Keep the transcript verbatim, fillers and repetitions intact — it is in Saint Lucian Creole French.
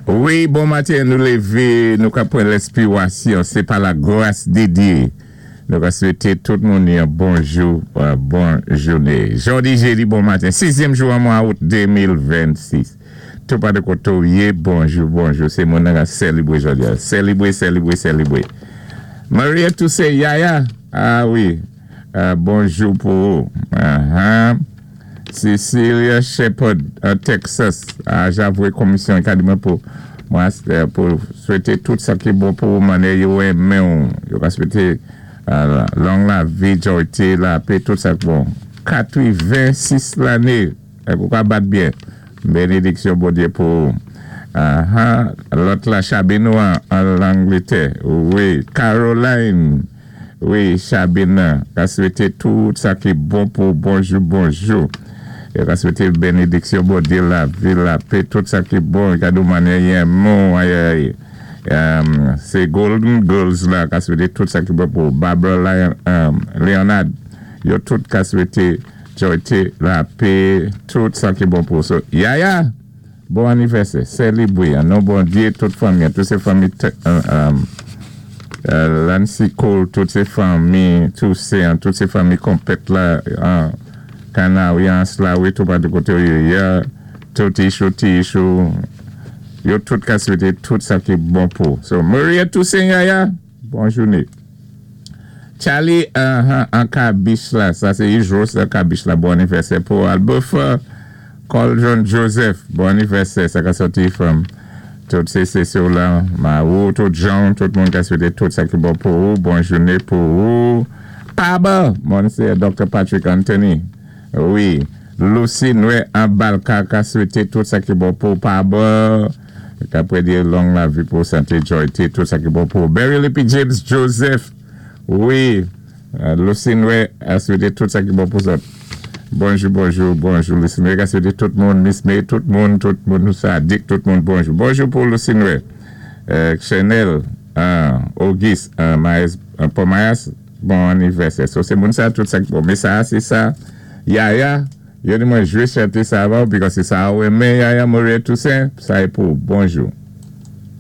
Wi, bon maten, nou lévé, nou ka pwan lenspiwasyon, sé pa la gras di Dye. Nou ka swété tout moun yon bonjou, euh, bon jouné. Jodi jédi, bon maten, sizyèm jou an mwa out de mil vennsis. Tou pa de koté ou yé, bonjou, bonjou. Sé moun nan ka sélébwé jodi a. Sélébwé, sélébwé, sélébwé. Maria Toussaint Yaya, ah wi, euh, bonjou pou ou. Uh-huh. Cecilia Shepard, à Texas. Ah, j'avoue, komisyon akadémik pou mwen, euh, pou swété tout sa ki bon pou mannyè yo renmen ou. Yo ka swété euh, long lavi, jwa, lapè, tout sa ki bon. katwenn-sis lanné, pou ka bat byen. Bénédiksyon Bondyé pou ou. Uh-huh. Lòt la, Chabino an, an Langlétè. Wi, Caroline. Wi, Chabina, ka swété tout sa ki bon pou bonjou, bonjou. É ka swété bénédiksyon Bondyé, lavi, lapè, tout sa ki bon, ka di mannyè renmen ou, ay, ay. Um, sé Golden Girls la, ka swété tout sa ki bon pou Barbara Lion, um, Leonard. Yo tout ka swété jwa, lapè, tout sa ki bon pou. So, Yaya, bon anivèsè, sélébwé, an non Bondyé, tout fanmi, tout sé fanmi, euh, um, euh, Lancy Cole, tout sé fanmi, tout sé, tout sé fanmi konplèt la, an Kanawi, an Slawi, tou pa de koté yo, ya, tout Ishou, ti Ishou, yo tout ka swété tout sa ki bon pou. So, Maria Toussaint Yaya, bon jouné. Charlie, uh, an Kabich la, sa sé Ijos an Kabich la, bon anivèsè pou Albufa, Coldron Joseph, bon anivèsè, sa ka sòti from tout sé sé la, Marou, tout Jean, tout moun ka swété tout sa ki bon pou ou, bon jouné pou ou. Paba, moun sé Docteur Patrick Anthony, wi, Lucy Noé an Balka ka swété tout sa ki bon pou Paba, ka prédi long lavi pou santé, jwa, tout sa ki bon pou Barry Lippy James Joseph, wi, Lucy Noé a swété tout sa ki bon pou sa. Bonjou, bonjou, bonjou, Lucy Noé ka swété tout moun, Miss May, tout moun, tout moun, sa dik, tout moun, bonjou. Bonjou pou Lucy Noé. Euh, Chanel, uh, Auguste, uh, Maes, uh, Pomayas, bon anivèsè. So, sé moun sa, tout sa ki bon. Mé sa, sé sa, Yaya, yo di mwen jwé chanté sa avan, because sé sa ou renmen, Yaya Maria Toussaint, sa é pou, bonjou.